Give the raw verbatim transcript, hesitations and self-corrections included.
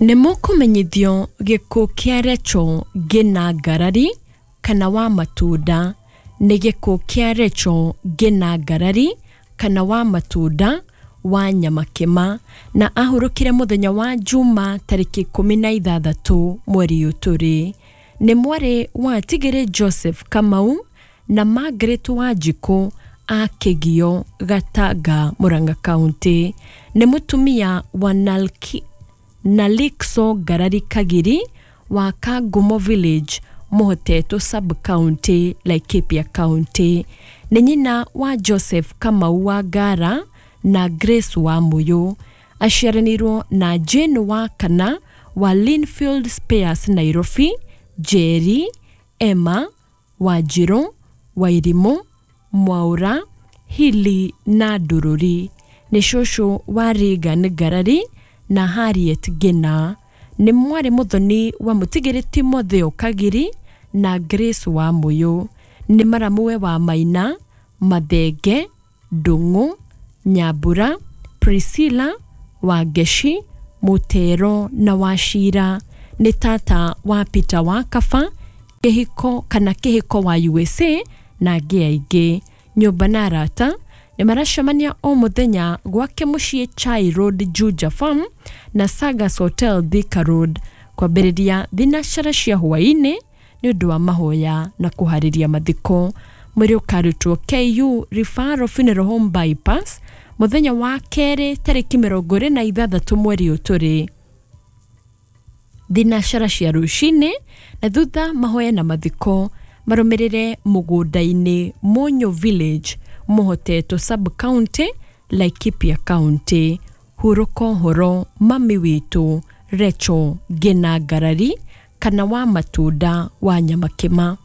Nĩ mũkũmenyithio gĩkuũ kĩa Rachel Ngina Ngarari kana wa Matunda. Nĩ gĩkuũ kĩa Rachel Ngina Ngarari kana wa Matunda wa Nyamakĩma, na ahurũkire mũthenya wa Juma tarĩki ikũmi na ithathatũ mweri ũyũ tũrĩ. Nĩ mwarĩ wa Tigĩrĩ Joseph Kamau na Margaret Wanjikũ a Kĩgio, Gatanga, Murang'a County. Nĩ mũtumia wa Nalki, Nalikso Ngarari Kagiri wa Kangumo Village, Mũhotetwo Sub-County, Laikipia County. Nĩ nyina wa Joseph Kamau wa Ngara na Grace wa Muyu. Aciaranĩirwo na Jane wa Kana wa Linfield Spares Nairobi, Jerry, Emma, Wanjirũ, Wairimũ, Mwaũra, Hili na Ndũrũri. Nĩ cũcũ wa Regan Ngarari na Harriet Ngina. Nĩ mwarĩ mũthoni wa Mũtigĩrĩ Timotheo Kagiri na Grace wa Muyu. Nĩ maramuwe wa Maina, Mathenge, Ndung'u, Nyambura, Priscilla, Wangeci, Mũtero na Wachira. Nĩ tata wa Peter wa Kaba, Kĩhiko kana Kĩhiko wa U S A na angĩ aingĩ. Nyũmba na arata nĩ maracemania o mũthenya gwake mũciĩ Chai Road Juja Farm na Sagas Hotel Thika Road kwambĩrĩria thinacara cia hwaĩ-inĩ nĩ ũndũ wa mahoya na kũharĩria mathiko. Mwĩrĩ ũkarutwo K U Referral Funeral Home Bypass mũthenya wa kerĩ tarĩki mĩrongo ĩrĩ na ithathatũ mweri ũyũ tũrĩ thinacara cia rũcinĩ, na thutha mahoya na mathiko marũmĩrĩre mũgũnda-inĩ Mũnyũ Village, Mũhotetwo Sub-County, Laikipia County. Hurũka ũhoro mami witũ Rachel Ngina Ngarari kana wa Matunda wa Nyamakĩma.